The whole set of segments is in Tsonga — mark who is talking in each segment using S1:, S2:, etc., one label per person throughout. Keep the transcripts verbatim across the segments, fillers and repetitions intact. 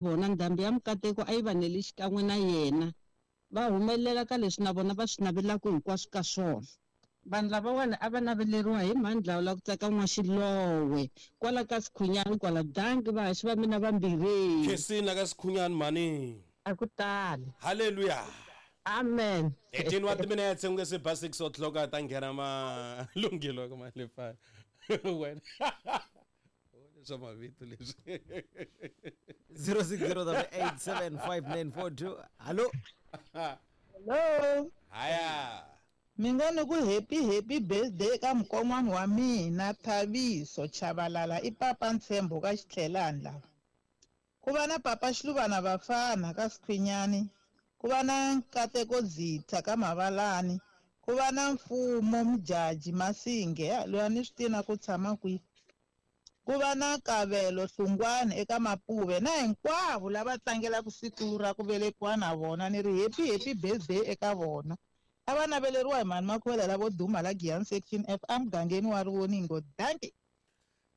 S1: Vona ndhambi ya mikateko a yi va neli xikan'we na yena, va humelela ka leswi na vona va swi navelaka hinkwaswo ka swona. Vanhu lavawani a va naveleriwa hi mhani Dlawula ku tsaka N'waxilowe kwala ka Sikhunyani kwala. Dankie vahaxi va mina vambirhi.
S2: Khensini la ka Sikhunyani mhani.
S1: A ku tali.
S2: Hallelujah.
S1: Amen.
S2: eighteen wa timinetse ku nge se ba six o'clock a ta nghena malunghelo ka Malefana. Wena. Swa mavito leswi.
S3: zero six zero eight seven five nine four two. Hello.
S4: Hello.
S2: Haya.
S4: Mi ngo ni ku happy happy birthday ka mukon'wana wa mina Thabiso Chabalala i papa Ntshembo ka Xitlhelani lava. Ku va na papa Xiluvana Vafana ka Sikhwinyani, ku va na Nkateko Dzitha ka Mavalani, ku va na Mfumo Mjaji Masinge loyi a ni swi tivi na ku tshama kwihi. Ku va na Kabelo Hlungwane eka Mapuve na hinkwavo lava tlangelaka siku ra ku velekiwa na vona ni ri happy happy birthday eka vona. A va naveleriwa hi mhani Makhuvela lavo duma la Giyani Section F emugangeni wa Rivoningo. Dankie.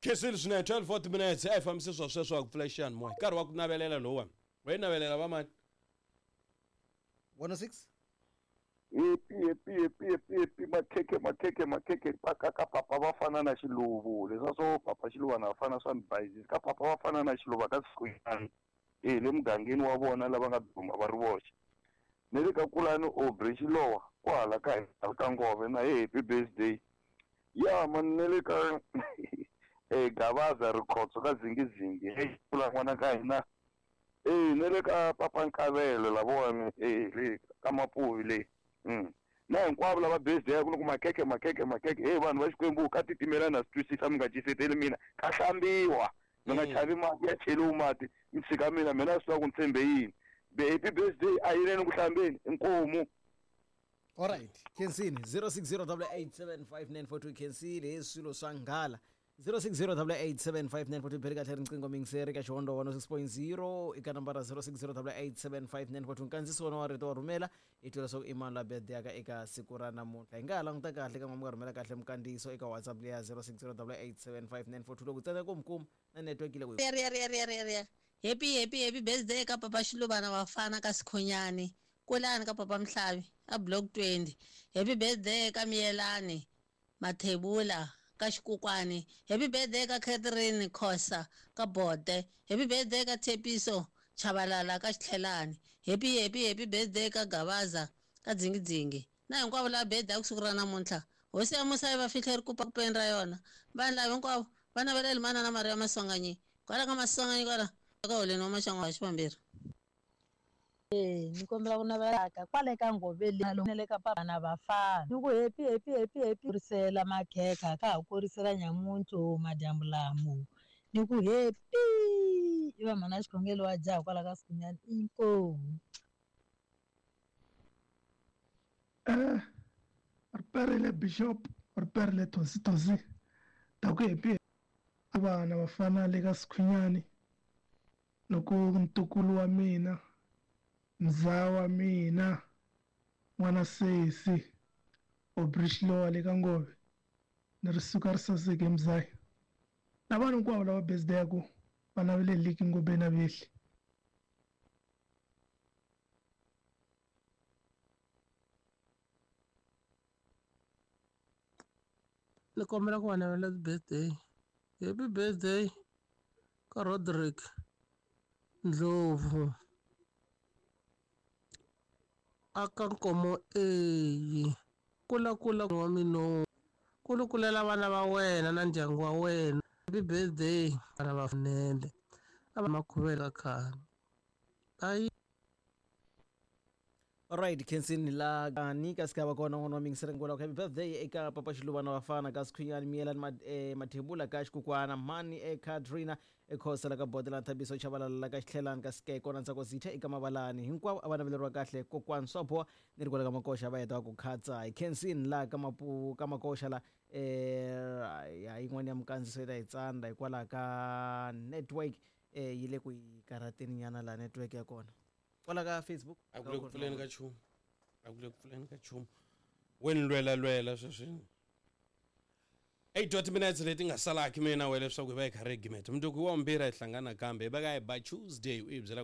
S2: Khensile swinene twelve forty minutes a hi fambise swa sweswo a ku pfula xiyanimoya. Nkarhi wa ku navelela lowuwani. Wa yi navelela va mani?
S3: one oh six.
S5: Happy happy happy happy happy makhekhe makhekhe makhekhe paka ka papa va fana na Xiluvu leswa swo papa Xiluvana va fana swa mibayizisi ka papa va fana na Xiluva ka Sikhunyani eh le mugangeni wa vona lava nga duma va ri voxe ni le ka Kulani Aubrey Xilowa kwala ka ka Ngove na happy birthday ya man ni le ka eh Gavaza Rikhotso ka Zingizingi hey kula n'wana ka hina eh ni le ka papa Nkavelo lavona eh le ka Mapuvi le. Mm. Na hinkwavo lava birthday ku loko makhekhe makhekhe makhekhe hey vanhu va Xikwembu ka titimela na swi twisisa mi nga ciseteli mina ka hlambiwa mi nga chavi mati ya cheliwi mati mi tshika mina mina swi tiva ku ni tshembe yini be happy birthday a yileni ku hlambeni inkomu.
S3: All right Khensini zero six zero eight seven five nine four two Khensini hi swilo swa nghala zero six zero eight seven five nine four two beri kahle riqingho mingiseri ka Xihondo one oh six point zero eka nambara zero six zero eight seven five nine four two nkandziso wona wa rito wa rhumela i twela swa ku i mani la birthday ka eka siku ra namuntlha. Hi nga ha languta kahle ka n'wa mi nga rhumela kahle mukandziyiso eka WhatsApp leya zero six zero eight seven five nine four two loko tsandza ku mi kuma na network yi le ku
S6: ri ri ri ri ri happy happy happy birthday ka papa Xiluvana Vafana ka Sikhunyani Kulani ka papa Mhlavi a block twenty. Happy birthday ka Miyelani Mathebula ka Xikukwani. Happy birthday ka Catherine Khosa ka Bote. Happy birthday ka Tshepiso Chabalala ka Xitlhelani. Happy happy happy birthday ka Gavaza ka Dzingidzingi na hinkwavo lava birthday ku siku ra namuntlha. Hosi ya musa yi va fihle rikupa kupeni ra yona. Vanhu lava hinkwavo va navelela manana Maria Maswanganyi kwala ka Maswanganyi kwala ka holeni wa maxangu wa xivambirhi.
S7: Eh ni kombela ku navelaka kwale ka Ngove le ka papa na Vafana ni ku happy happy happy happy kurisela makhekha ka ha kurisela nyamuntu madyambu lamo ni ku happy i va mhana xikhongelo wa jaha kwala ka Sikhunyani inkomu.
S8: Eh riperile Bishop riperile Tosi Tosi ta ku happy vana Vafana le ka Sikhunyani loko ntukulu wa mina mzawa mina n'wana sesi Aubrey Xilowa le ka Ngove ni ri suka ri saseke mzaya na vanhu hinkwavo lava birthday ku va naveleliki Ngove na vehli.
S9: Ni kombela ku va navela birthday happy birthday ka Roderick Ndlovu aka Nkomo eyi kula kula wa mino kulukulela vana va wena na ndyangu wa wena happy birthday vana va fanele a va makhuvela khale ayi.
S3: Alright Khensini la ni ka sikava kona n'wana wa mingiseri ngula happy birthday eka papa Xiluvana Vafana ka Sikhunyani Miyelani eh, Mathebula ka Xikukwana Mani eka Trina ekhosa la ka Bodela Thabiso Chabalala la ka Xitlhelani ka Sikeko na Ntsako Zitha eka Mavalani hinkwavo a va naveleriwa kahle kokwani swa boha ni ri kwala ka Makoxa va heta ku khatsa hi Khensini la ka mapu ka Makoxa la eh ya yin'wana ya mukandziso yi ta hi tsandza hikwalaho ka network eh yi le ku yi karhateni nyana la network ya kona kwala ka Facebook
S2: a ku le ku pfuleni ka nchumu a ku le ku pfuleni ka nchumu weni lwela lwela sweswi. Eight wa timinetse leti nga salaki mina we leswaku hi va hi kha ri gimeta mundzuku hi wa mbirhi hi hlangana kambe hi va ka hi ba Tuesday u hi byela.